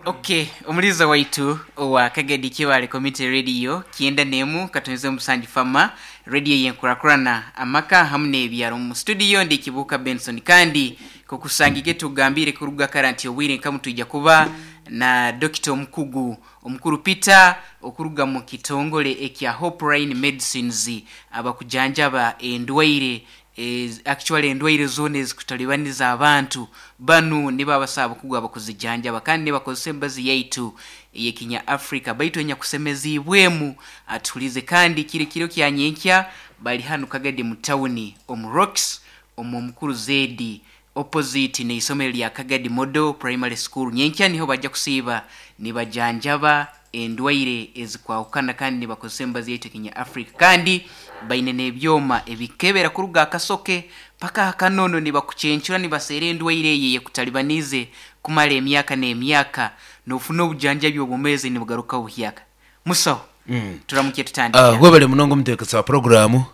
Ok, omuliiza waitu owa Kagadi Kibaale Community Radio 91 katonze omusanju Fama Radio yenkurakurana amaka hamu n'ebyaro. Omu studio ndi Kibuuka Benson kandi nkokusangike tugambire kuruga kara nti obwire nkamu twija kuba na Dokita omukugu omukuru Peter okuruga mu kitongole ekya Hopeline Medicines abakujanjaba endwaire Actually endwaire zoona ezikutalibaniza abantu, banu nibo abasaho abakugu abakuzijanjaba kandi nibakozesa emibazi yaitu ey'ekinya Africa baitu enyakusemeziibwemu atuhulize kandi kiri kiro kya nyenkya bali hanu Kagadi mu tawuni omu Rocks omu Omukuru Zedi opposite n'eisomero lya Kagadi Model Primary School. Nyenkya niho baja kusiiba nibajanjaba endwaire ezikwahukana kandi nibakozesa emibazi yaitu ekinya Africa kandi baine n'ebyoma ebikebera kuruga aha kasoke paka aha kanono nibakucencura nibaseera endwaire eyo eyekutalibaniize kumara emyaka n'emyaka nofuna obujanjabi obwomeezi nibugaruka buhyaka. Musaho, turamukye tutandike. Webale munonga omutebeekanisa wa puroguraamu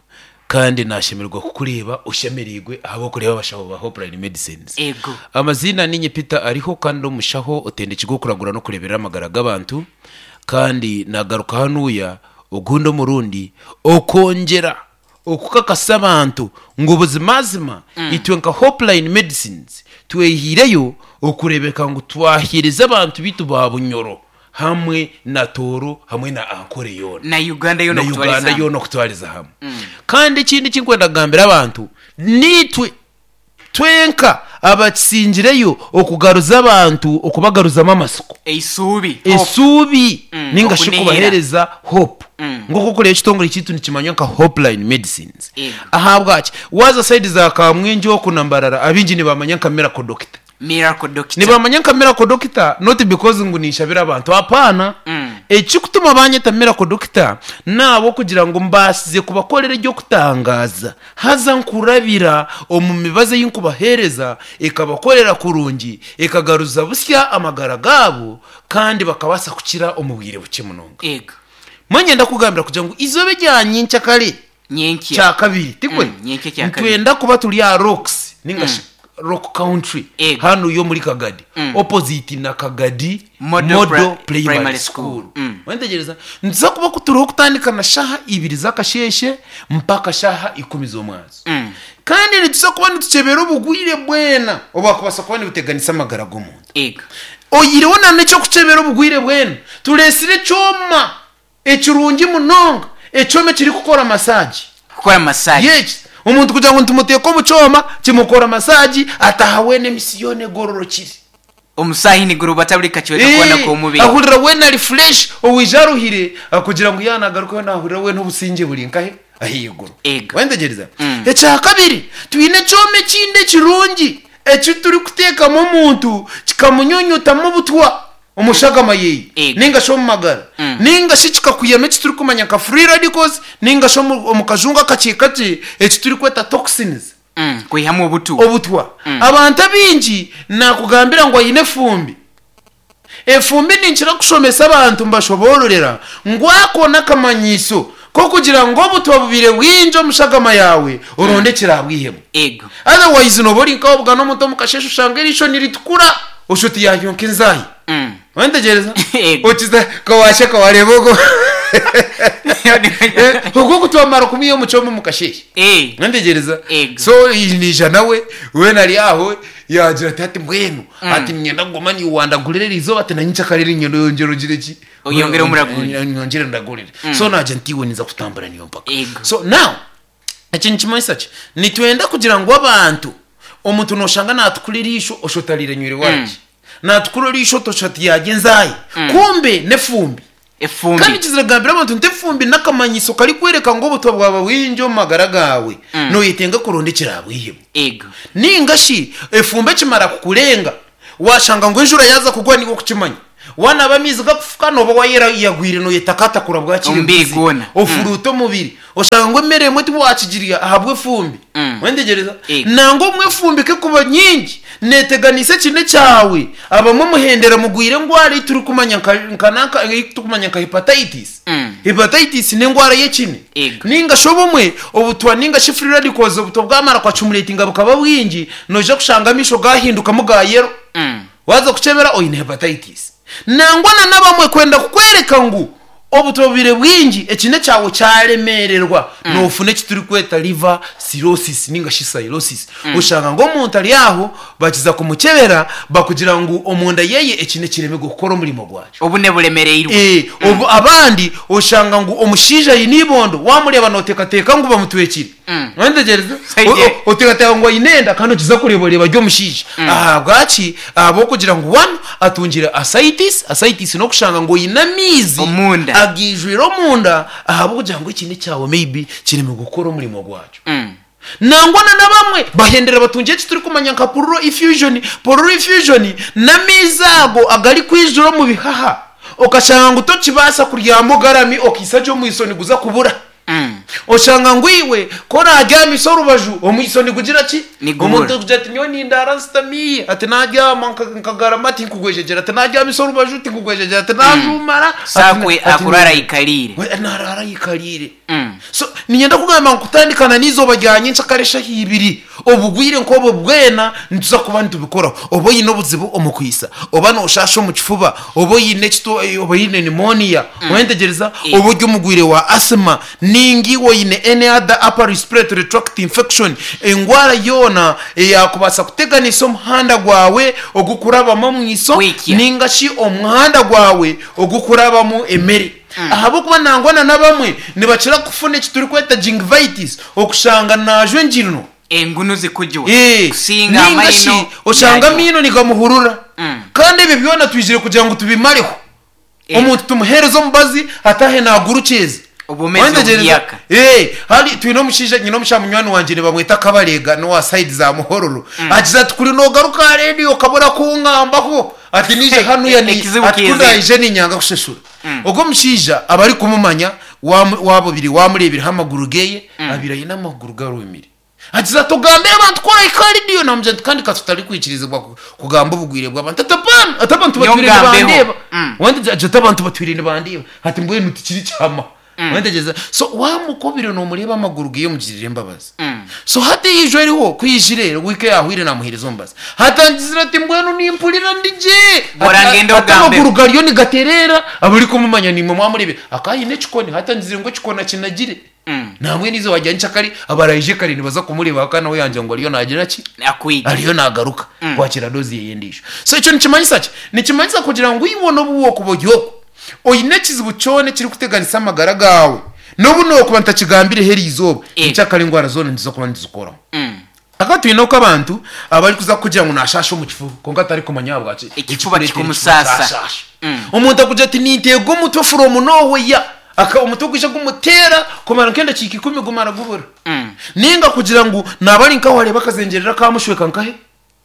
kandi nashemererwa kukureeba oshemereirwe ahabw'okureeba abashaho ba Hopeline Medicines. Ego. Amaziina ninye Peter Ariho kandi ndi omushaho otendekirwe okuragura n'okureeberera amagara g'abantu kandi nagaruka hanuya ogundi omurundi okwongyera okukakasa abantu ngu buzimazima itwe nka Hopeline Medicines twehiireyo okureebeka ngu twaheereza abantu baitu ba Bunyoro hamwe na Tooro hamwe na Ankole yoona. Na Uganda yoona Na okutwariza Uganda hamwe. yoona okutwariza hamwe. Kandi ekindi eki ndikwenda kugambira abantu, niitwe twenka abakisingireyo okugaruza abantu, okubagaruzamu amatsiko. Eisuubi, hope. Esuubi ninga shi okunihira. kubaheereza hope. Nk'oku orikureeba ekitongore kyaitu nikimanywa nka Hopeline Medicines. Ego. Ahabwaki? Waaza sayidi za Kamwengye oku na Mbarara, abaingi nibamanya nka Miracle Doctor. Miracle Doctor. Nibamanya nka Miracle Doctor not because ngu ninshabira abantu apaana. Ekikutuma banyeta Miracle Doctor nahabwokugira ngu mbaasize kubakorera eby'okutangaaza haza nkurabira omu mibazi ei nkubaheereza ekabakorera kurungi ekagaruza busya amagara gaabo kandi bakabaasa kukira omu bwire bukye munonga. Ego. Mbwenu niinyenda kukugambira kugira ngu eizooba erya nyenkyakare Nyenkya. Kyakabiri, tikwe? Mm, nyenkya kyakabiri. Nitwenda kuba turi aha Rocks ninga shi Rock Country Ego. hanu y'omuri Kagadi opposite na Kagadi Model Model Primary Primary School. School. Wantegereza? Nituza kuba ku turiho kutandika na shaha ibiri z'akasheeshe mpaka shaha ikumi z'omwazo. Kandi nituza kuba nitukyebera obugwire bwena obwakubaasa kuba nibuteganisa amagara g'omuntu. Ego. Oyihireho na n'eky'okukyebera obugwire bwena, tureetsire ekyoma Ekirungi munonga, ekyoma ekirikukora masaagi. Kukora masaagi. Yes. Omuntu kugira ngu nitumuteeka omu kyoma, kimukora masaagi, ataaha weena emisi yoona egororokire. Omusaahi nigurubata buri kacweka koona k'omubiri. Ahurira weena ari fresh, owaija aruhire, kugira ngu yaaba naagarukayo naahurira weena obusingye buri nkahe? Ahaiguru. Ego. Wayetegyereza? Ekyakabiri, twine ekyoma ekindi ekirungi eki turikuteekamu omuntu kikamunyunyutamu obutwa. omu shagama yeye Ego. ninga shi omu magara ninga shi kikakwihamu eki turikumanya nka free radicals ninga shi omu omu kajungu akakye kakye eki turikweta toxins Kwihamu obutu. obutwa. Abantu abaingi nakugambira ngu aine efumbi. Efumbi ninkira kushomesa abantu mbashoboororera ngu ako n'akamanyiso k'okugira ngu obutwa bubaire bwingi omu shagama yaawe oronde ekiraabwihemu. Ego. Otherwise nooba ori nk'owabugana omuntu omu kasheeshe oshanga eriisho niritukura osha oti yaayonka enzaahi. Wantegyereza? Ego. Okiza ka waasheka wareeba ogwo ogwo ku twamara kumwiha omu kyoma omu kasheeshe. Eh. Wantegyereza? Ego. So naija nawe weena ari aho yaagira ati hati mbwenu ati niinyenda kuguma niiwe wandagurira eriizooba ati na nyenkyakare niinyenda oyongyere ogire ki? Oyongere omuragurire. Nyongyere ndagurire. So naagira nti iwe ninza kutambura niiwe mpaka. Ego. So now Eki nikimanyisa ki? Nitwenda kugira ngu abantu, omuntu noshanga natukura eriisho osha otariire nywire waragi. Natukura eriisho oti osha oti yarya enzaahi. Kumbe n'efumbi. Efumbi. Kandi kizira kugambira abantu nti efumbi n'akamanyiso karikworeka ngu obutwa bwaba bwingi omu magara gaawe, noyetenga kuronda ekiraabwihemu. Ego. Ninga shi efumbi ekimara kukurenga, Waashanga ngu enjura yaaza kugwa niiwe okukimanya. Waanaaba amaizi gakufuka nooba waayeyagwire nooyetakatakura bwakira Omubiri embuzi. gwona. Ofuruuta omubiri. Oshanga ngu emere emwe tiwaakigirya ahabw'efumbi. Wentegyereza? Ego. Nangwa obumwe efumbi ku erikuba nyingi, neeteganisa ekine kyawe. Abamwe muhendera mugwire endwara ei turikumanya nka nka nanka ei turikumanya nka hepatitis. Hepatitis n'endwara y'ekine. Ego. Ninga shi obumwe obutwa ninga shi free radicals obutwa bwamara ku accumulatinga bukaba bwingi, noija kushanga amaisho gaahindukamu ga yellow. Waaza kukyebera oine hepatitis. Nangwa na n'abamwe kwenda kukworeka ngu obutwa bubire bwingi ekine kyawe kyaremererwa nofuna eki turikweta liver cirrhosis ninga shi cirrhosis. Oshanga ngu omuntu ari aho bakiza kumukyebera bakugira ngu omunda yeye ekine kiremirwe kukora omurimo gwakyo. Obune buremereirwe. Obu abandi oshanga ngu omushaija aine eibondo wamureeba noteekateeka ngu bamutwekire. Wantegereza? Oteekateeka ngu aine enda kandi okiza kureeba oreeba ari omushaija. Ahabwaki? Ahabw'okugira ngu one atungire ascites, ascites n'okushanga ngu oine amaizi Omunda. agaijwire omunda ahabw'okugira ngu ekine kyawe maybe kiremirwe kukora omurimo gwakyo. Nangwa na n'abamwe bahendera batungire eki turikumanya nka pleural effusion. Pleural effusion n'amaizi ago agarikwijura omu bihaha okashanga ngu tokibaasa kuryama ogarami okaisa gye omwiso niguza kubura. Oshanga ngu iwe ku oraabyamisa orubaju, omwiso nigugira ki? Nigubura. Omuntu arikugira ati nyowe nindaara nsitami, ati naabyama nkagarama tinkugwejegyera, ati naabyamisa orubaju tinkugwejegyera, ati naajuumara ati So akwe ati akuraara aikariire. We naaraara aikariire. So niinyenda kugamba ngu kutandika na n'eizooba rya nyenkyakare eshaaha ibiri, obugwire nk'obwo bwena nituza kuba nitubikoraho. Oba oine obuzibu omu kwitsa, oba nooshaasha omu kifuba, oba oine ekito oba oine pneumonia, Oyentegereza? Oba ori omurwaire wa asthma, ninga iwe oine any other upper respiratory tract infection, endwara yoona eyaakubaasa kuteganisa omuhanda gwawe ogukurabamu omwiso Kwikya. ninga shi omuhanda gwawe ogukurabamu emere. Ahabw'okuba nangwa na n'abamwe nibakira kufuna eki turikweta gingivitis, okushanga naajwa enjirino. Engunu zikujwa Ee, kusinga ninga shi amaino oshanga naajwa. amaino nigamuhurura. Kandi ebyo byona twizire kugira ngu tubimareho. Omuntu tumuheereze omubazi ataahe naagurukyeza. Obwomeezi Wantegereza? obuhyaka. Ee, hari twine omushaija nyine omushaija munywani wangye nibamweta Kabareega n'owa side za Muhororo. Agize ati kuri noogaruka aha reediyo okabura kungambaho ati naija hanuya ni Ekizibu ati ku kiizire. ndaije niinyanga kushashura. Ogwo omushaija abarikumumanya waamu waaba obire waamureebireho amaguru geeye abaire aine amaguru garumire. Agize ati, Ogambire abantu ku orahika ahari Diyo. Naamugira nti, Kandi ka tutarikwikirizibwa kugamba obugwire bw'abantu. Ati, Apana! Ati, Abantu Nyowe batwire ngambeho. nibandeeba. Wantegyereza? Agira ati, Abantu batwire nibandeeba. Ati, Mbwenu tikiri kyama. Wantegyereza? So waamukobire noomureeba amaguru ge omugirire embabazi. So hati eiju eriho ku eijire, wiiki eyaahwaire naamuheereza omubazi. Hati angizire ati, Mbwenu nimpurira ndi gye. Bora Ati, ngende ati ogambeho. amaguru gariyo nigatereera. Abarikumumanya niimwe mwamureebire. Akaba aine ekikoni. Hati angizire ngu ekikoni akinagire. Nambwenu eizooba rya nyenkyakare abaraije kare nibaza kumureeba kandi nawe yaagira ngu ariyo naagira ki? Akwija. Ariyo naagaruka kwakira doozi ye endiijo. So ekyo nikimanyisa ki? Nikimanyisa kugira ngu iwe n'obu wookuba ori okwo, oine ekizibu kyona ekirikuteganisa amagara gaawe, n'obu nookuba ntakigambireho eri izooba, nyenkyakare endwara zoona nituza kuba nituzikoraho. Hakaba twine oku abantu abarikuza kukugira ngu nashaasha omu kifuba kwonka atarikumanya ahabwaki Ekifuba ekikureetera ekifuba kikumusaasa. kyashaasha. Omuntu akugira ati ninteega omutwe from nowhere aka omutwe gwija gumuteera kumara nk'endakiika ikumi gumara gubura. Ninga kugira ngu naaba ari nkaho areeba akazengyerera kamushweka nkahe?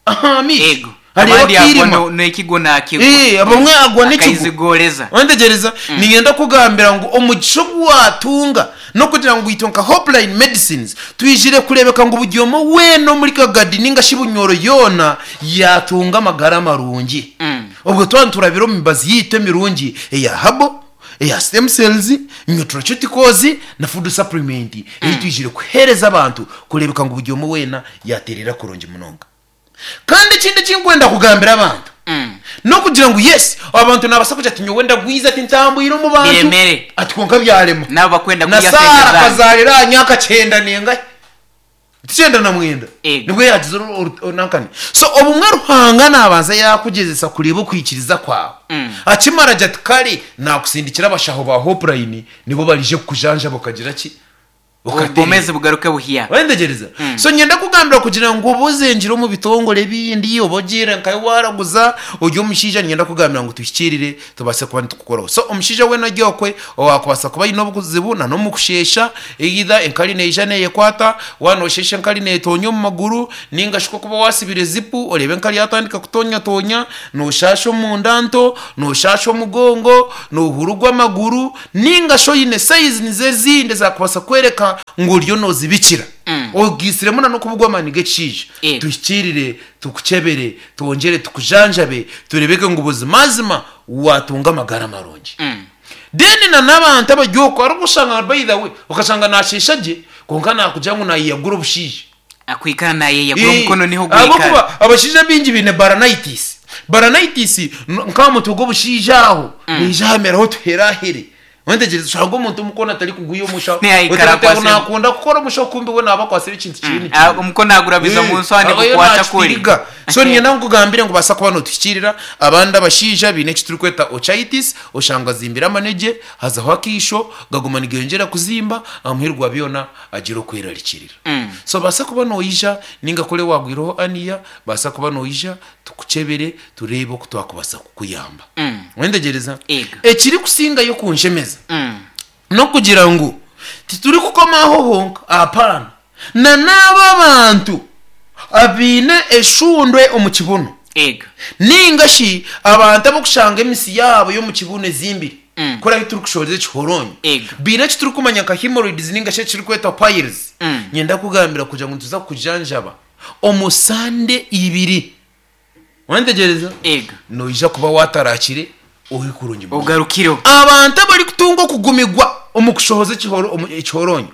Aha maisho. Ego. Areeba Abandi agwa akairima. no- n'ekigwo naakigwa. Eh, abamwe agwa n'ekigwo. Akaizigoreza. Wantegyereza? Niinyenda kukugambira ngu omugisha ogu waatunga n'okugira ngu itwe nka Hopeline Medicines twizire kureebeka ngu buri omwe weena omuri Kagadi ninga shi Bunyoro yoona yaatunga amagara marungi. Obwo twaba niturabira omu mibazi yaitu emirungi eya herbal, eya stem cells, nutraceuticals na food supplement ei twizire kuheereza abantu kureebeka ngu buri omwe weena yaatereera kurungi munonga. Kandi ekindi eki nkwenda kugambira abantu n'okugira ngu yes abantu nabaasa kugira ati nyowe ndagwize ati ntambwire omu bantu Biremere. ati kwonka byarema. Nabo bakwenda Na kurya Saara sente zanyu. akazaarira aha myaka kyenda nengahi? Ti kyenda na mwenda? Ego. Nibwo yaagize nankani. So obumwe Ruhanga naabanza yaakugyezesa kureeba okwikiriza kwawe. Akimara agira ati kare naakusindikira abashaho ba Hopeline nibo barije kukujanjaba okagira ki? Obwomeezi bugaruke buhya. Wayetegyereza? So niinyenda kukugambira kugira ngu oba ozengire omu bitongore ebindi, oba ogiire nkahi waaraguza, ori omushaija niinyenda kukugambira ngu tuhikiirire tubaase kuba nitukukoraho. So omushaija weena ori okwe owaakubaasa kuba aine obuzibu na n'omu kusheesha, either enkari neija neeyekwata, waaba noosheesha enkari neetoonya omu maguru, nainga shi ku orikuba waasibire zipu oreebe enkari yaatandika kutoonyatoonya, nooshaasha omunda nto, nooshaasha omugongo, noohurugwa amaguru, Nainga shi oine sayizi nizo ezindi ezaakubaasa kworeka ngu oriyo noozibikira. Ogaitsiremu na n'okubugwa amaani g'ekishaija. Yego. Tuhikiirire, tukukyebere, twongyere tukujanjabe, tureebeke ngu buzimazima waatunga amagara marungi. Then na n'abantu abari okwo hariho obu oshanga by the way okashanga naasheesha gye kwonka naakugira ngu naayeyagura obushaija. Akwikara naayeyagura omukono niho gwikara. Ahabw'okuba abashaija abaingi baine baranitis. Balanitis nk'aha mutwe gw'obushaija aho neija hameraho otuherahere. Wetegyereza oshanga omuntu omukono atarikuguya omushaho. Nihaikara Oteekateeka ngu akwatsire. naakunda kukora omushaho kumbe we naaba akwatsire ekintu kiriyo Ah, nikimera. omukono agurabiza omu nswa Abayo nigukwata kuri. nakitiriga. So niinyenda nkugambire ngu baasa kuba nootuhikiirira. Abandi abashaija baine eki turikweta ochitis, oshanga azimbire amanegye, hazaho akaisho, gaguma nigeyongyera kuzimba, aha muheru gwa byona agira okwerarikirira. So baasa kuba noija ninga kuri waagwireho aniya, baasa kuba noija tukukyebere tureebe oku twakubaasa kukuyamba. Wetegyereza? Ego. Ekirikusingayo kunshemeza n'okugira ngu titurikukoma aho honka, apaana, na n'abo abantu abaine eshundwe omu kibuno Ego. ninga shi abantu ab'okushanga emisi yaabo y'omu kibuno ezimbire, kuri ahu turikushohoreza ekihoronyo, Ego. baine eki turikumanya nka hemorrhoids ninga shi ekirikwetwa piles, niinyenda kukugambira kugira ngu nituza kukujanjaba omu sande ibiri. Wantegyereza? Ego. Noija kuba waatarakire ori kurungi munonga. Ogarukireho. Abantu abarikutunga okugumigwa omu kushohoza ekihoro, omu ekihoronyo,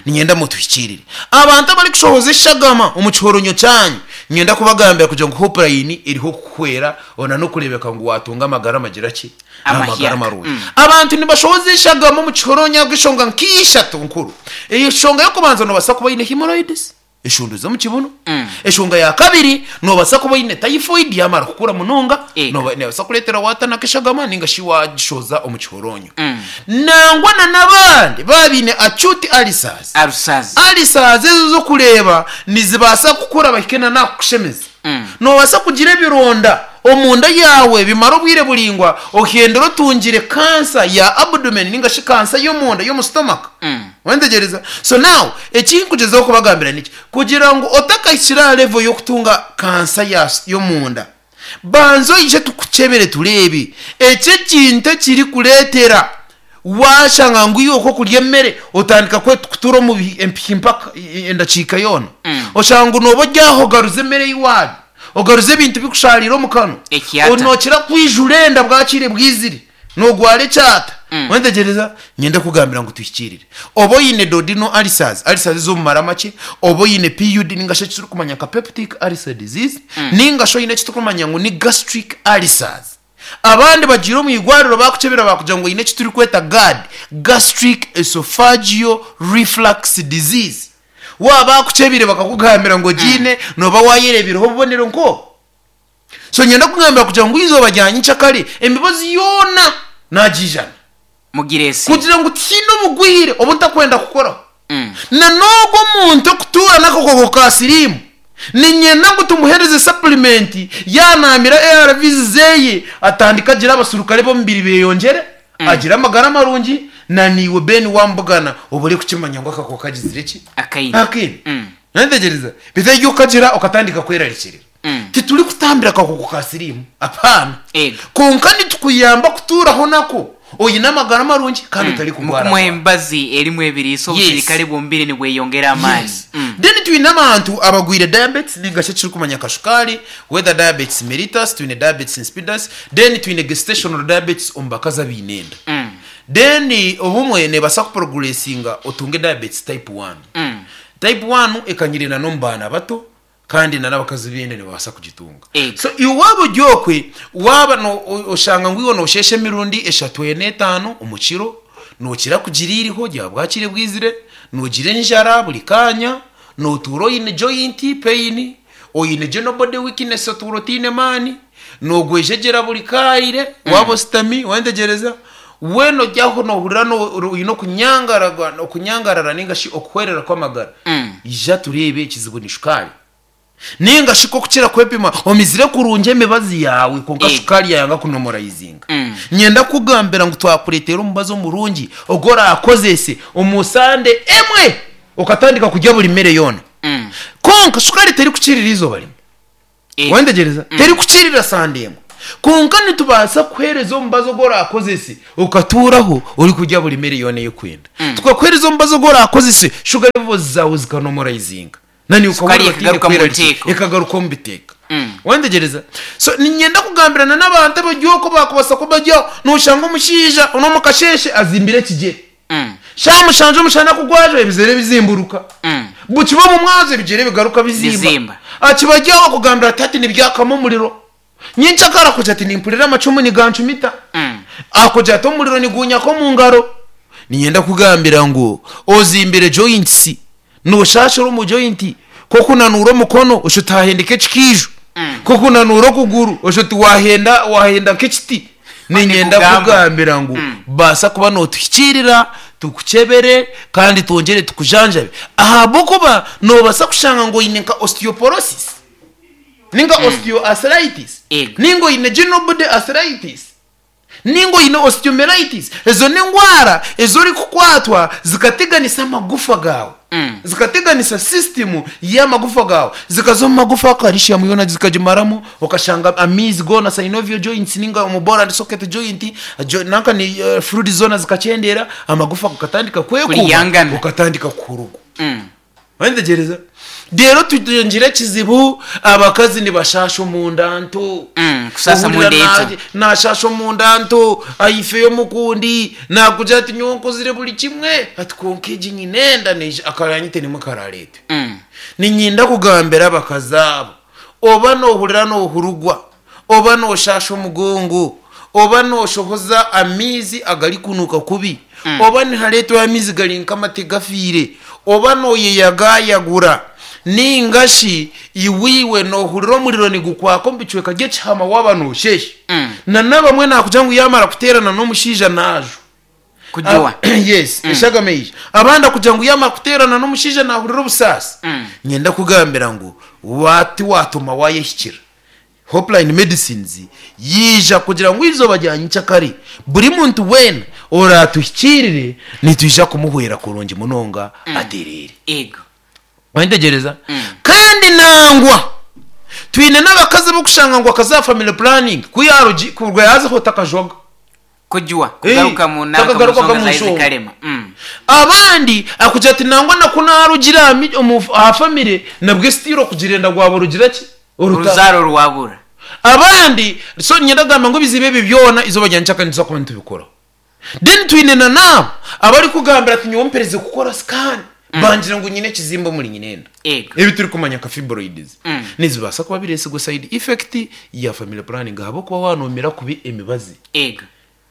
niinyenda mutuhikiirire. Abantu abarikushohoza eshagama omu kihoronyo kyanyu, niinyenda kubagambira kugira ngu Hopeline eriho kukuhwera ona n'okureebeka ngu waatunga amagara amagira ki? Amagara Amahyaka. marungi. Abantu nibashohoza eshagama omu kihoronyo ahabw'enshonga nk'ishatu nkuru. Enshonga y'okubanza noobaasa kuba oine hemorrhoids. Eshundu z'omu kibunu. Enshonga ya kabiri, noobaasa kuba oine typhoid yaamara kukura munonga, Ego. neebaasa kureetera waatanaka eshagama nainga shi waagishoza omu kihoronyo. Nangwa na n'abandi baaba baine acute ulcers. Ulcers. Ulcers ezo z'okureeba nizibaasa kukura bahike na n'aha kukushemeza. Noobaasa kugira ebironda omunda yaawe bimare obwire buraingwa ohendere otungire kansa ya abdomen nainga shi kansa y'omunda y'omu stomach. Wantegyereza? So now, eki nkugyezaho kubagambira niki? Kugira ngu otakahikire aha level y'okutunga kansa ya y'omunda, banza oije tukukyebere tureebe eki ekintu ekirikureetera waashanga ngu iwe oku okurya emere otandika kutuura omu empihi mpaka endakiika yoona. Oshanga ngu nooba ori aho ogaruza emere ei waarya, ogaruza ebintu birikushaarira omu kanwa, Ekyata. nookira kwijura enda bwakiire bwizire. Noogwara ekyata? Wetegyereza? Niinyenda kukugambira ngu tuhikiirire. Oba oine duodenal ulcers, ulcers ez'omu mara makye, oba oine PUD nainga shi eki turikumanya nka peptic ulcer disease, nainga shi oine eki turikumanya ngu ni gastric ulcers. Abandi bagiire omu irwariro baakukyebera baakugira ngu oine eki turikweta GERD, gastric esophageal reflux disease. Waaba baakukyebeire bakakugambira ngu ogiine, nooba waayereebireho obubonero nk'obwo. So niinyenda kugambira kugira ngu eizooba rya nyenkyakare emibazi yoona naagiijana. Mugireese. Kugira ngu tihaine obugwire obu ntakwenda kukoraho. Na n'ogwo omuntu orikutuura n'akakooko ka siriimu, niinyenda ngu tumuheereze sapulimenti yaanaamira ARVs zeeye atandike agire abasurukare b'omubiri beeyongyere, agire amagara marungi, na naiwe Ben waamubugana obure kukimanya ngu akakooko kagizire ki? Akaine. Akaine. Noyetegyereza? Beitu eryo okagira okatandika kwerarikirira. Titurikutambira kakooko ka siriimu, apaana. Ego. Kwonka nitukuyamba kutuuraho nako oine amagara marungi kandi otarikugwaragwara. Mukumuha emibazi erimu ebiriisa Yes. obusirikare bw'omubiri nibweyongera amaani. Yes. Then twine abantu abagwire diabetes ninga shi ekiturikumanya nka shukaari, whether diabetes mellitus, twine diabetes insipidus, then twine gestational diabetes omu bakazi abaine enda. Then obumwe neebaasa kuprogressinga otunge diabetes type one. Type one ekanyire na n'omu baana bato kandi na n'abakazi b'enda nibabaasa kugitunga. Ego. So iwe waaba ori okwe, waaba no- o- oshanga ngu iwe noosheesha emirundi eshatu ena etaano omu kiro, nookira kugira eiriho rya bwakire bwizire, noogira enjara buri kaanya, nootuura oine joint pain, oine general body weakness otuura otaine maani, noogwejegyera buri kaire waaba oshutami wantegyereza, Weena ori aho noohurira oine okunyangarara nainga shi okuhwerera kw'amagara, ija tureebe ekizibu ni shukaari. Nainga shi k'okukira kwepima omizire kurungi emibazi yaawe kwonka shukaari yaayanga kunomorayizinga. Niinyenda kukugambira ngu twakureetera omubazi omurungi ogu oraakozese omu sande emwe okatandika kurya buri mere yoona. Kwonka shukaari terikukirira eizooba rimwe. Wantegyereza? Terikukirira sande emwe. Kwonka nitubaasa kukuheereza omubazi ogu oraakozese okatuuraho orikurya buri mere yoona ei orikwenda. Tukakuheereza omubazi ogu oraakozese shuga levels zaawe zikanomoraizinga. Na niiwe Sukari okahurira otaine ekagaruka omu kwerarikirira. buteeka. Ekagaruka omu biteeka. Wantegyereza? So niinyenda kugambirana n'abantu abari okwo baakubaasa kuba bari aho, nooshanga omushaija n'omu kasheeshe azimbire ekigyere. Shaaha mushanju omushana ku gwajwa ebigyere bizimburuka. Bukiba omu mwazyo ebigyere bigaruka bizimba. Bizimba. Akiba ari aho akugambira ati hati nibyakamu omuriro. Nyencakara akugira ati nimpurira amacumu nigancumita. Akugira ati omuriro nigunyaka omu ngaro. Niinyenda kukugambira ngu ozimbire joints, nooshaashira omu joint, ku okunanuura omukono osha oti haahendeka ekikaijo, ku okunanuura okuguru osha oti waahenda waahenda nk'ekiti. Niinyenda Nikugamba. kukugambira ngu baasa kuba nootuhikiirira, tukukyebere kandi twongyere tukujanjabe ahabw'okuba noobaasa kushanga ngu oine nka osteoporosis. Ninga osteoarthritis, Ego. ninga oine ginobody arthritis, ninga oine osteomyelitis. Ezo n'endwara ezi orikukwatwa zikateganisa amagufa gaawe, zikateganisa system y'amagufa gaawe, zikaza omu magufa calcium yoona zikagimaramu, okashanga amaizi goona synovial joints ninga omu ball and socket joint, jo nanka ni fluids zoona zikakyendeera, amagufa gakatandika kwekuuba, Kuryangana. okatandika kuhurugwa. Wayetegyereza? Reero tugire ekizibu, abakazi nibashaasha omunda nto. Kusaasa Ohurira omunda ento. naashaasha omunda nto, aifeyo omukundi, naakugira ati nyowe nkozire buri kimwe, ati kwonka egi nyine enda neija, akaranyite nimwe karaareetwe. Niinyenda kugambira abakazi abo, oba noohurira noohurugwa, oba nooshaasha omugongo, oba nooshohoza amaizi agarikunuuka kubi, oba nihareetwayo amaizi gari nk'amate gafiire, oba nooyeyagayagura, nainga shi iwe iwe noohurira omuriro nigukwaka omu bicweka by'ekihama waaba noosheesha. Na n'abamwe naakugira ngu yaamara kuteerana n'omushaija naajwa. Kujuwa. Yes, eshagama eija. Abandi akugira ngu yaamara kuteerana n'omushaija naahurira obusaasi. Niinyenda kukugambira ngu tiwaatuma waayehikira. Hopeline Medicines yaija kugira ngu eizooba rya nyenkyakare buri muntu weena oraatuhikiirire nitwija kumuhwera kurungi munonga atereere. Ego. Wayetegyereza? Kandi nangwa twine n'abakazi ab'okushanga ngu akaza aha family planning ku yaarugi kuruga yaazaho takajwaga. Kujwa, kugaruka mu nanka mu Takagarukaga nshonga mu za nshonga. Izikarema. Abandi akugira ati nangwa na ku naarugire aha mi- omu aha family nabwe still okugira enda gwaba rugira ki? Orutaro. Oruzaaro rwabura. Abandi so niinyenda kugamba ngu ebizibu ebi byona eizooba rya nyenkyakare nituza kuba nitubikoraho. Then twine na n'abo abarikugambira ati nyowe mperize kukora scan bangira ngu nyine ekizimba omuri nyine enda. Ego. Ebi turikumanya nka fibroids nizibaasa kuba bireetsigwe side effect ya family planning ahabw'okuba waanoomera kubi emibazi Ego.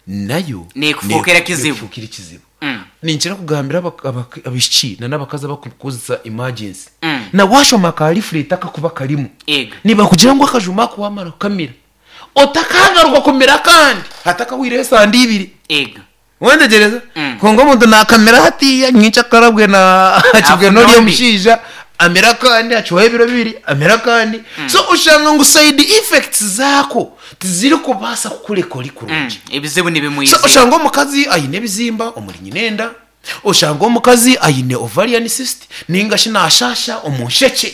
nayo Neekufuukira kizibu. neekufuukira ekizibu. Ninkira kugambira abaishiki na n'abakazi abarikukozesa emergency na waashoma ka leaflet akakuba karimu Ego. nibakugira ngu akajuma ako waamara kukamira otakagaruka kumira akandi hatakahwireho esande ibiri. Ego. Wetegyereza? Kwonka omuntu naakamira hatiiya nyenkyakara bwe akibwe Afuna n'ori ondi. omushaija amire akandi acwaho ebiro bibiri amire akandi. So oshanga ngu side effects zaako tizirikubaasa kukureka ori kurungi. Ebizibu So nibimwizira. oshanga omukazi aine ebizimba omuri nyina enda, oshanga omukazi aine ovarian cyst ninga shi naashaasha omu nshekye,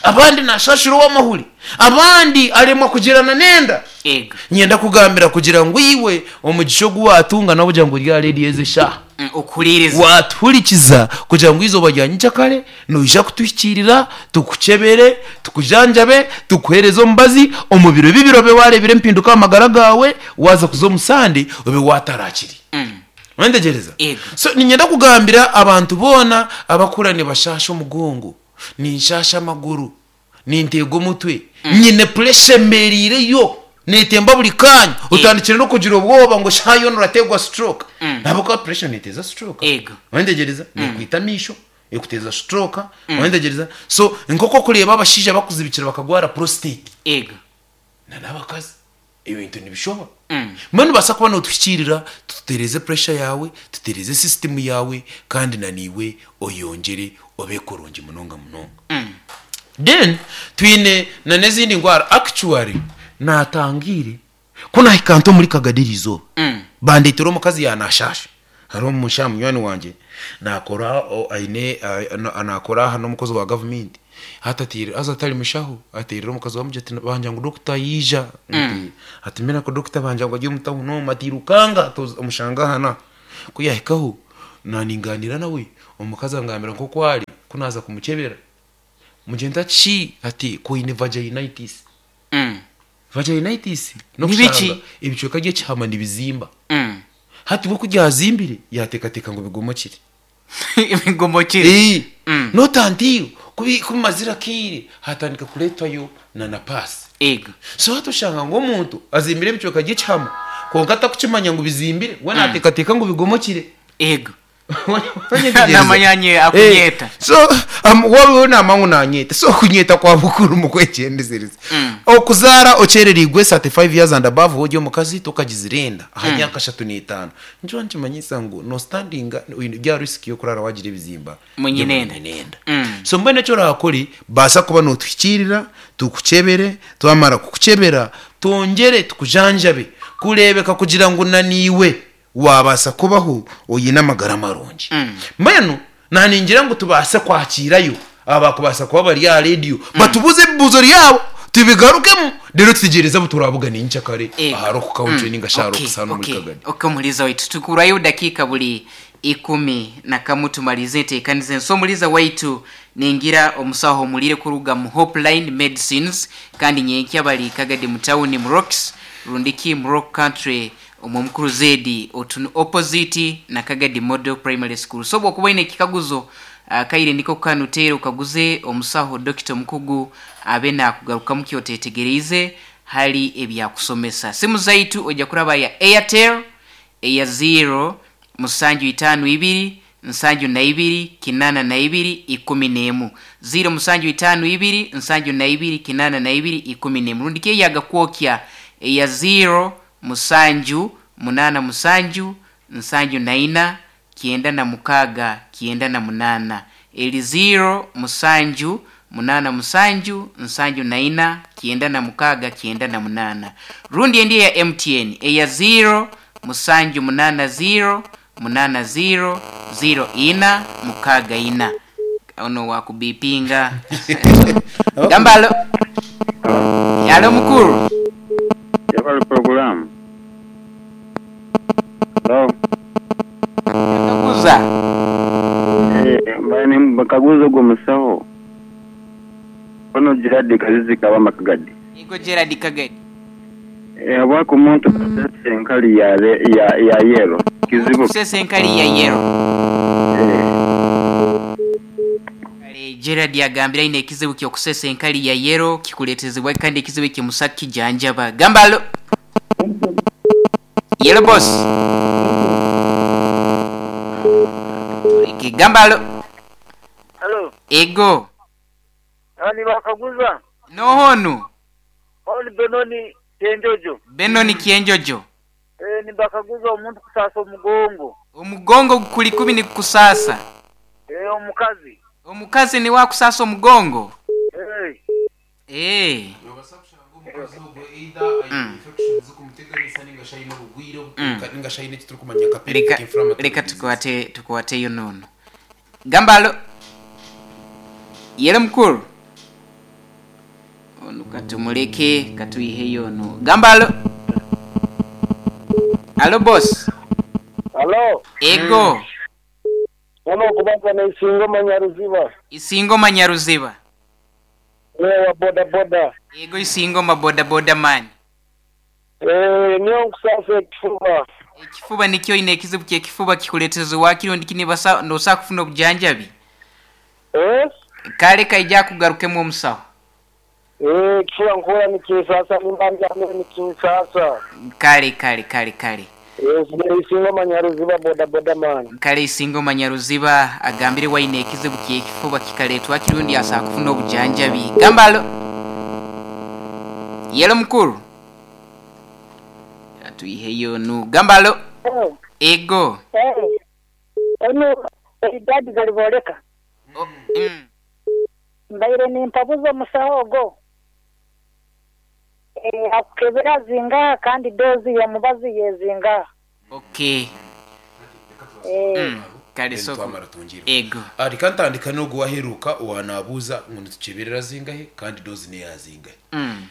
abandi naashaashira ow'amahuri, abandi aremwa kugirana n'enda. Ego. Niinyenda kukugambira kugira ngu iwe omugisha ogu waatunga n'okugira ngu ori aha reediyo ezi eshaaha. Okuhuriiriza. Waatuhurikiza kugira ngu eizooba rya nyenkyakare noija kutuhikiirira, tukukyebere, tukujanjabe, tukuheereze omubazi, omu biro bibiri obe waareebire empinduka aha magara gaawe, waaza kuza omu Sande obe waataraakire. Wayetegyereza? Ego. So niinyenda kugambira abantu boona abakura nibashaasha omugongo, ninshaasha amaguru, Ninteega omutwe, nyine puresha embeereireyo, neetemba buri kaanya, otandikire n'okugira obwoba ngu shaaha yoona orateegwa stroke. Ahabw'okuba puresha neeteeza stroke. Ego. Wayetegyereza? Neekwita amaisho, ekuteeza stroke, wayetegyereza? So nk'oku orikureeba abashaija bakuzibikira bakagwara prostate. Ego. Na n'abakazi ebintu nibishoba. Mbwenu nibaasa kuba nootuhikiirira tutereeze puresha yaawe, tutereeze sisitimu yaawe kandi na naiwe oyongyere obe kurungi munonga munonga. Then twine na n'ezindi ndwara actually naatangiire ku naahika nta omuri Kagadi eriizooba bandeetera omukazi yaanashaasha. Hariho omushaija munywani wangye naakora aine naakora aha n'omukozi wa gavumenti hati ateire haza atari mushaho ateirire omukazi we amugira ati bangira ngu dokita yaija ati mbwenu ku dokita bangira ngu ari omu tawuni omu ati irukanga omushange aha n'aha. Ku yaahikaho naaningaaniira nawe omukazi angambira nk'oku ari ku naaza kumukyebera mugira nti ati ati ku oine vaginitis. Vaginitis n'okushanga ebicweka by'ekihama nibizimba. Hati we ku byazimbire yaateekateeka ngu bigomokire. Bigomokire. Not until ku bimazire akaire hatandika kureetwayo na na paasi. Ego. So hati oshanga ngu omuntu azimbire ebicweka by'ekihama kwonka atakukimanya ngu bizimbire, we naateekateeka ngu bigomokire. Ego. Wanyetegyereza? Namanya nye akunyeeta. Eh, so waaba namanya ngu nanyeeta so okunyeeta kwa bukuru mu kwegyendesereza. Okuzaara okyerereirwe 35 years and above woori omukazi tokagizire enda aha myaka 35 nikyo nikimanyisa ngu no standinga oine ori aha risk y'okuraara waagira ebizimba Munyinenda. by'omunyinenda. So mbwenu eki oraakore baasa kuba nootuhikiirira tukukyebere twamara kukukyebera twongyere tukujanjabe kureebeka kugira ngu na naiwe Waabaasa kubaho oine amagara marungi. Mbwenu naaningira ngu tubaase kwakiirayo abakubaasa kuba bari aha rediyo batubuuze ebibuuzo byabo tubigarukemu reero tutegyereze abu turaabugane nyenkyakare aha Rock Country nainga shi aha Rocks hanu omuri Kagadi. Okay, omuhuriza waitu tukurayo dakiika buri 11 tumarize enteekaniza ensi. Omuhuriza waitu ningira omusaho omurire kuruga mu Hopeline Medicines kandi nyenkya bari Kagadi mu tawuni mu Rocks rundiki mu Rock Country Omwe omukuru Zedi Otunu opposite na Kagadi Model Primary School. So bwokuba oine ekikaguzo akaire niko kanu teera okaguze omusaho Dokita omukugu abe nakugarukamu kyotetegereize hali ebyakusomesa. Simu zaitu oija kuraba ya Airtel eya ziro musanju itaano ibiri nsanju na ibiri kinana na ibiri ikumi n'emu, ziro musanju itaano ibiri nsanju na ibiri kinana na ibiri ikumi n'emu, rundi ki eya Gakwokya eya ziro musanju munaana musanju nsanju na ina kyenda na mukaaga kyenda na munaana, eri ziro musanju munaana musanju nsanju na ina kyenda na mukaaga kyenda na munaana, rundi endi eya MTN eya ziro musanju munaana ziro munaana ziro ziro ina mukaaga ina. Ono wakubipinga. Gamba alo. Alo mukuru. Yebale pulogulaamu. Halo. Kaguza. Eh, mbaire nimbakaguza ogwo musaho. Ono Gerard Kazizi Kabama Kagadi. Yego Gerard Kagadi. Eh, habwaki omuntu kusesa enkali ya, ya, ya yellow? Omuntu Kizibu. kusesa enkali ya yellow. Eh. Kale Gerard agambire aine ekizibu ky'okusesa enkali ya yellow kikuletezebwa kandi ekizibu eki musa kukijanjaba. Gamba alo. Yellow boss. Tuleke. Gamba alo. Halo, Ego. aba nibakaguza. N'oha onu? Onu Benoni Kyenjojo. Benoni Kyenjojo. Eh, nibakaguza omuntu kusaasa omugongo. Omugongo gukuri kubi nigukusaasa? Eh, omukazi. Omukazi niwe akusaasa omugongo? Eh. Eh. Noobaasa kushanga omukazi ogwo either aine infection zikumuteganisa ninga shi aine obugwire obuturuka ninga shi aine eki turikumanya nka pelvic Reka inflammatory reka disease. tukwate tukwateyo n'onu. Gamba alo. Yele mukuru. Onu katumuleke katwiheyo onu. Gamba alo. Alo boss. Alo, Ego. ono okubanza n'Isingoma Nyaruziba, Isingoma Nyaruziba. niwe wa boda boda. Ego Isingoma boda boda man. Eh, niyo nkusaasa ekifuba. Ekifuba nikyo oine ekizibu ky'ekifuba kikuleeteza waakiri ondi nibasa nosa kufuna obujanjabi. Eh? Kale kaija akugarukemu omusaho. Eh, ekifuba nkuhurra nikinsasa nimba ndyamire nikinsasa. Kale kale kale kale. Eh, Isingoma Nyaruziba boda boda man. Kale Isingoma Nyaruziba agambire waine ekizibu ky'ekifuba kikareetwa kiri ondi asa kufuna obujanjabi. Gamba alo. Yelo mukuru. Atuiheyo nu. Gamba alo. Ego. Onu Elidadi Galibooleka. O, mm. Mbaire nimpabuza omusaho ogwo. Eh, akukebera zingaha kandi doozi y'omubazi yezingaha. Okay. Eh, Kale Then soko. twamara twongyere. Ego. Ah, reka ntandika n'ogu waheruka owanaabuuza ngu nitukyebera zingahe kandi doozi n'eya zingahe.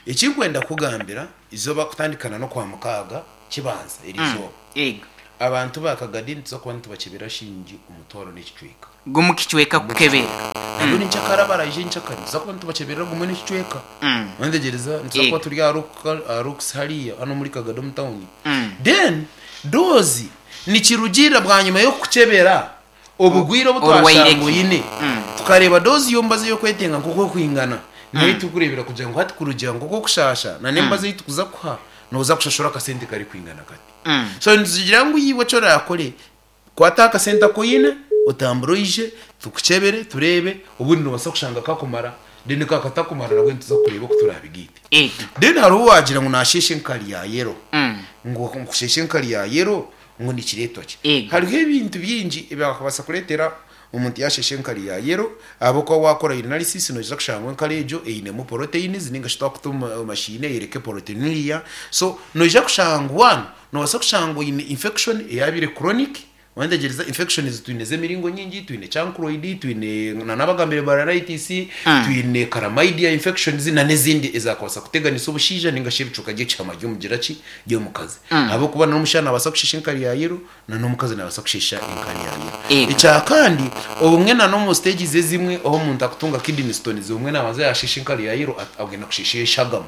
Ekinkwenda kukugambira izooba kutandikana n'okwamukaaga kibanza eri izooba. Ego. Abantu ba Kagadi nituza kuba nitubakyebera shingi omutwaro n'ekicweka. Gumu kicweka kukebera. Nabwo ninkyakara baraije nkyakare nituza kuba nitubakyebera gumwe n'ekicweka. Wandegyereza nituza kuba turi aha Rock- aha Rocks hariya hano muri Kagadi omu tawuni. Then doozi nikirugiirira bwanyima y'okukukyebera obugwire obu Orwaire twashanga ki? oine. Tukareeba doozi y'omubazi ey'okwetenga nk'oku ekwingana. Niho turikureebera kugira ngu hati kurugira ngu okw'okushaasha na n'emibazi ei turikuza kukuha, nooza kushashura akasente karikwingana kati. So nitugira ngu iwe eki oraakore, kwata aha kasente aku oine, otambure oije, tukukyebere, tureebe, obundi noobaasa kushanga kakumara, then ka katakumara nabwo nituza kureeba oku turaabigaite. Then hariho owaagira ngu naasheesha enkari ya yellow, ngu okusheesha enkari ya yellow ngu nikireetwa ki? Hariho ebintu bingi ebyakubaasa kureetera Omuntu yashesha enkari ya yellow, ahabw'okuba wakora urinalysis noija kushanga ngu enkari egyo einemu proteins ninga shi twakuta omu machine eyereke proteinuria. So noija kushanga ngu one, nobaasa kushanga ngu oine infection eyabaire chronic, wayetegyereza infections twine ez'emiringo nyingi, twine chancroid, twine na n'abagambire balanitis, twine chlamydia infections na n'ezindi ezakubaasa kuteganisa obushaija ninga shi ebicuka by'ekihama ry'omugira ki ry'omukazi. Ahabw'okuba n'omushaija nabaasa kushesha enkari ya yellow, na n'omukazi nabaasa kusheesha enkari ya yellow. Ego. Ekya kandi, obumwe na n'omu stages ezimwe ahu omuntu akutunga kidney stones, obumwe nabanza yasheesha enkari ya yellow at- agenda kusheesha eshagama.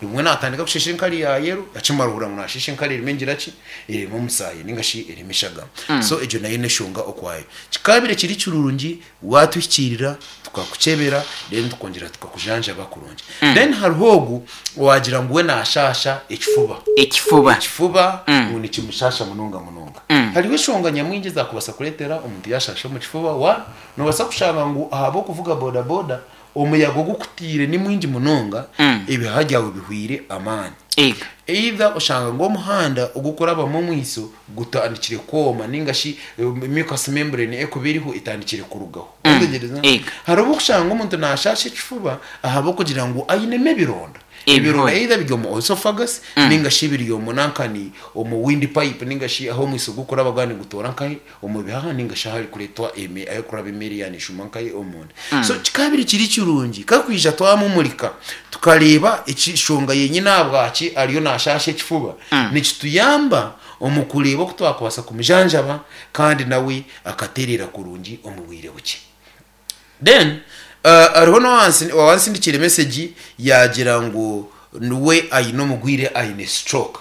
Obumwe natandika kusheesha enkari ya yellow, akimara ohurira ngu nasheesha enkari erimu engira ki? Erimu omusaayi ninga shi erimu eshagama. So egyo nayo n'eshonga okwayo. Kikabaire kiri kirungi watuhikiirira tukakukyebera then tukongyera tukakujanjaba kurungi. Then hariho ogu owagira ngu we nashaasha ekifuba. Ekifuba. Ekifuba ngu nikimushaasha munonga munonga. Hariho eshonga nyamwingi ezakubaasa kureetera omuntu yashaasha omu kifuba. One, nobaasa kushanga ngu ahabw'okuvuga boda boda omuyaga ogukutiire ni mwingi munonga, ebihaha byawe bihweire amaani. Ego. Either oshanga ngu omuhanda ogukurabamu omwiso gutandikire kwoma ninga shi mucous membrane erikuba eriho etandikire kurugaho. Wategereza? Ego. Hariho obu okushanga omuntu nashasha ekifuba ahabw'okugira ngu ainemu ebironda. Ebihori. Ebironda either biri omu oesophagus ninga shi biri omu nankani omu wind pipe ninga shi ahu omwiso gukuraba gwaba nigutoora nkahi omu bihaha ninga shi aharikureetwa eme aharikuraba emere yaaba neeshuma nkahi omunda. So kikabaire kiri kirungi kakwija twamumurika tukareeba eshonga yenyine ahabwaki ariyo naashaasha ekifuba, nikituyamba omu kureeba oku twakubaasa kumujanjaba kandi nawe akatereera kurungi omu bwire bukye. Then hariho n'owaansindikiire mesegi yaagira ngu we aine omugwire aine stroke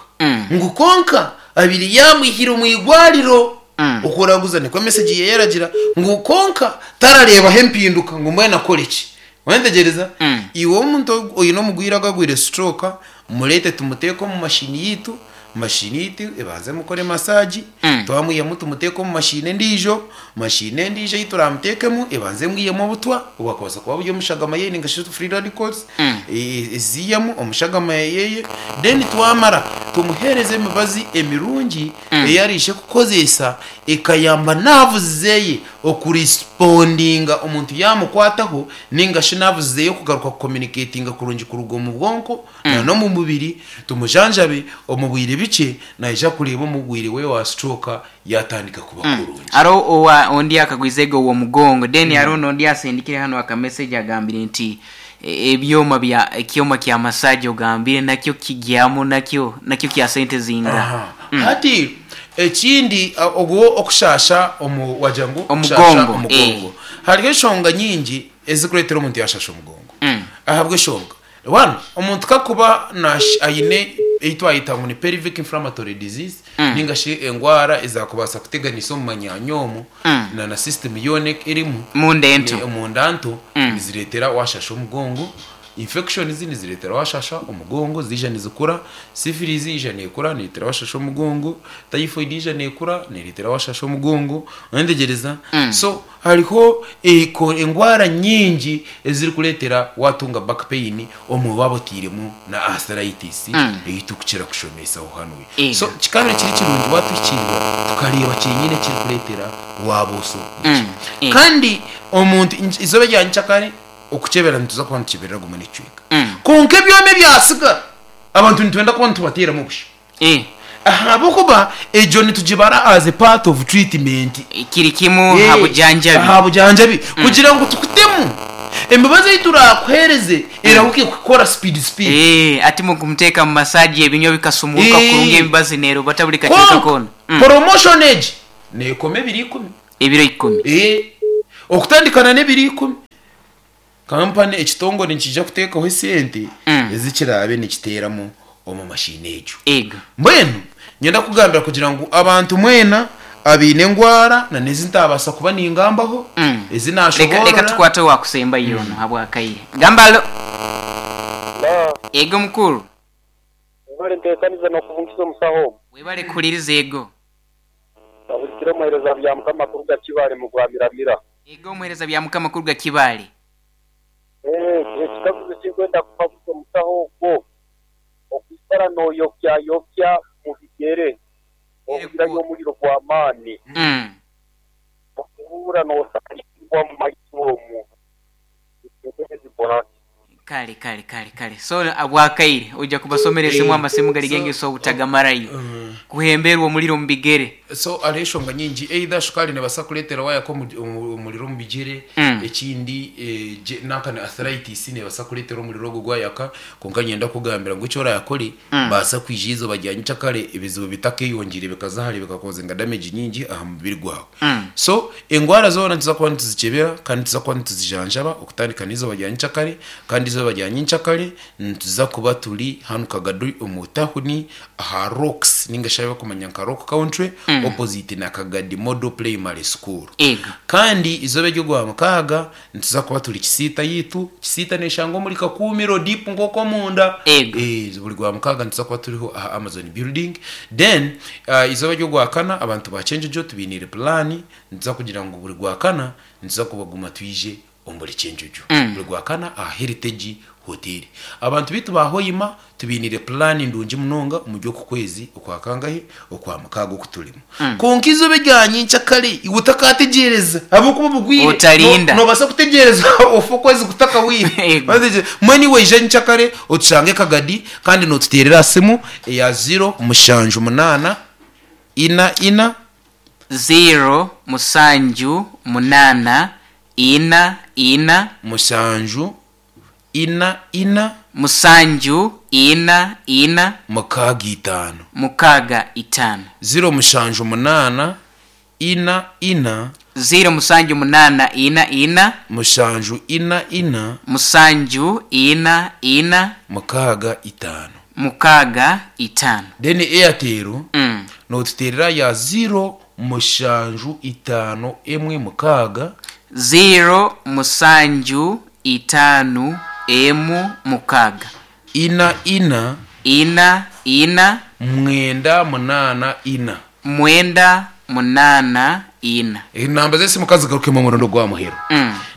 ngu kwonka abaire yaamwihire omu irwariro okuraguza nikwo mesegi ye yaragira ngu kwonka tarareebaho empinduka ngu mbwenu akore ki Wayetegyereza? Iwe omuntu oine omugwire agagwire stroke mureete tumuteeke omu mashini yaitu, mashini yaitu ebanze emukore massage, twamwihamu tumuteeke omu mashini endiijo, mashini endiijo ei turamuteekemu ebanze emwihemu obutwa obwakubaasa kuba buri omu shagama ye ninga shi free radicals eziihemu omu shagama yeye, then twamara tumuheereze emibazi emirungi ei araije kukozeesa ekayamba nerves zeye okurisipondinga omuntu yamukwataho ninga shi nerves zeye kugaruka kucommunicatinga kurungi kuruga omu bwonko na n'omu mubiri, tumujanjabe omu bwire bikye naija kureeba omurwaire we wa stroke yatandika kuba kurungi. Hariho owa ondi akagwize ego ow'omugongo then hariho n'ondi asindikire hanu aka message agambire nti ebyoma bya ekyoma kya massage ogambire nakyo kigyamu nakyo nakyo kya sente zingaha? Aha. Hati ekindi ogwo okushaasha omu wagira ngu okushaasha Omugongo, omugongo. eh. Hariho eshonga nyingi ezikureetera omuntu yashaasha omugongo. Ahabw'eshonga, one, omuntu kakuba nash aine ei twayeta ngu ni pelvic inflammatory disease ninga shi engwara ezakubaasa kuteganisa omu manyaanya omu na na system yoona erimu Munda ento. omunda nto nizireetera washasha omugongo. Infections nizireetera washasha omugongo ziija nizikura, syphilis yaija neekura nereetera washasha omugongo, typhoid yaija neekura nereetera washasha omugongo, oyetegyereza? So hariho engwara nyingi ezirikureetera watunga back pain omu waaba oteiremu na arthritis ei turikukira kushomesaho hanuya. So kikabaire kiri kirungi watuhikiirira tukareeba kyenyine ekirikureetera waaba oso. Kandi omuntu eizooba erya nyenkyakare, Okukyebera nituza kuba nitukyeberera gumwe n'ekicweka. Kwonka ebyoma ebyatsigara, abantu nitwenda kuba nitubateeramu busha. Ahabw'okuba egyo nitugibara as a part of treatment. Kiri kimwe aha bujanjabi. Aha bujanjabi. Kugira ngu tukutemu, emibazi ei turaakuheereze erahuke kukora speed speed. Ati mukumuteeka mu massage ebinywa bikasumuuruka kurungi emibazi neerobata buri kacweka koona. Kwonka promotion egi neekoma ebiro ikumi. Ebiro ikumi. Okutandikana n'ebiro ikumi. Kampani ekitongore nikiija kuteekaho esente ezi kiraabe nikiteeramu omu mashiini egyo. Ego. Mbwenu niinyenda kukugambira kugira ngu abantu mwena abaine engwara na n'ezi ntaabaasa kuba ningambaho, ezi Reka, reka naashoboorora. tukwate owaakusembayo onu habw'akaire. Gamba alo. Ego mukuru. Webale nteekaniza n'okubungiza omusaho ogwo. Webale kuhuliriza ego. Abulikire omuheereza Byamukama kuruga Kibaale mu Rwamiramira. Ego omuheereza Byamukama kuruga Kibaale. Eeh ekikaguzo ekinkwenda kukaguza omusaho ogwo, okwikara noyokyayokya mu bigyere ohurirayo omuriro gw'amaani, okuhurra nosangibwa mu maiso omu, entebe zikora ki? Kale kale kale kale so abwakaire oija kubasomera esimu amasimu gari g'engeso obutagamarayo kuhemberwa omuriro omu bigere. So hariho eshonga nyingi either shukaari nebaasa kureetera waayaka omuriro omu bigyere, ekindi nanka ni arthritis nebaasa kureetera omuriro ogwo gwayaka kwonka niinyenda kukugambira ngu eki oraakore baasa kwija eizooba rya nyekyakare ebizibu bitakeyongyeire bikaza hare bikakozinga damage nyingi aha mubiri gwawe. So engwara zoona nituza kuba nituzikyebera kandi nituza kuba nituzijanjaba okutandika n'eizooba rya nyekyakare kandi eizooba rya nyenkyakare nituza kuba turi hanu Kagadi omu tahuni aha Rocks ninga shi ahu barikumanya nka Rock Country opposite na Kagadi Model Primary School. Ego. Kandi eizooba ery'Ogwamukaaga nituza kuba turi Kisiita yaitu. Kisiita neeshangwa omuri Kakuumiro deep nk'oku omunda. Ego. Buri Gwamukaaga nituza kuba turiho aha Amazon Building. Then eizooba ry'Ogwakana abantu ba Kyenjojo tubainiire pulaani, nituza kugira ngu buri Gwakana nituza kubaguma twije omu buri Kyenjojo. Buri Gwakana aha Heritage Hotel. Abantu baitu ba Hoima tubainiire pulaani ndungi munonga omuri oku kwezi okwa kangahi? Okwamukaaga oku turimu. Kwonka eizooba erya nyenkyakare iwe otakategyereza ahabw'okuba obugwire Otarinda. Noobaasa kutegyereza ofe okwezi kutakahweire. Ego. Mbwenu iwe ija nyenkyakare otushange Kagadi kandi nootuteerera aha simu eya ziro mushanju munaana ina ina. Ziro mushanju munaana ina ina. Mushanju ina ina. Musanju ina ina. Mukaaga itaano. Mukaaga itaano. Ziro mushanju munaana ina ina. Ziro musanju munaana ina ina. Mushanju ina ina. Musanju ina ina. Mukaaga itaano. Mukaaga itaano. Then Airtel notuteerera ya ziro mushanju itaano emwe mukaaga. Ziro musanju itaanu emu mukaaga. Ina ina. Ina ina. Mwenda munaana ina. Mwenda munaana ina. Enamba z'esimu ka zigarukemu omurundi ogwa muheru.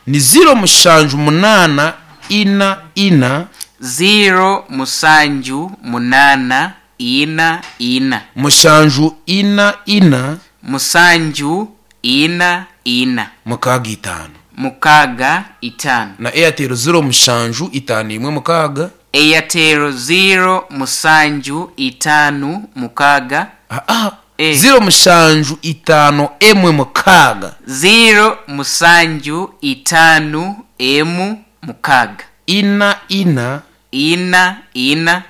Ni ziro mushanju munaana ina ina. Ziro mushanju munaana ina ina. Mushanju ina ina. Mushanju ina ina. Mukaaga itaano. Mukaaga itaano. Na Airtel ziro mushanju itaano imwe mukaaga. Airtel ziro mushanju itaanu mukaaga. Aa, ziro mushanju itaano emwe mukaaga. Ziro mushanju itaanu emu mukaaga. Ina ina. Ina ina.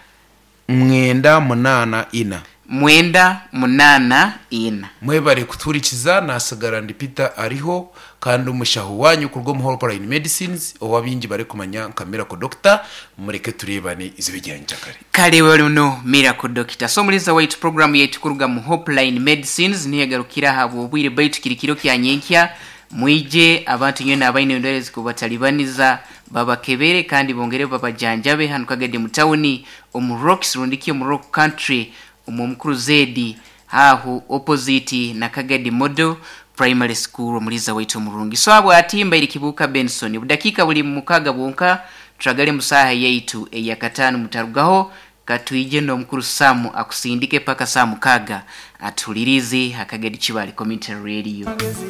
Mwenda munaana ina. Mwenda munaana ina. Mwebare kutuhurikiza, nasigara ndi Peter Ariho kandi omushaho wanyu kuruga omu Hopeline Medicines ou abaingi barikumanya nka Miracle Doctor. Mureke tureebane eizooba erya nyenkyakare. Kare wano Miracle Doctor. So omuhuriza waitu program yaitu kuruga mu Hopeline Medicines niho egarukira ahabw'obwire baitu kiri kiro kya nyenkya mwije abantu nywena abaine endwaire ezikubatalibaniza babakebere kandi bongere babajanjabe hanu Kagadi mu tawuni omu Rocks rundiki omu Rock Country omu Omukuru Zedi ahu opposite na Kagadi Model Primary School omuliza waitu omurungi. So abwati mbaire Kibuuka Benson obudakiika buli mukaaga bwonka turagare mu saaha yaitu eyakataano mutarugaho katwije n'omukuru Sam akusindike paka saaha mukaaga atuhulirize ha Kagadi Kibaale Community Radio.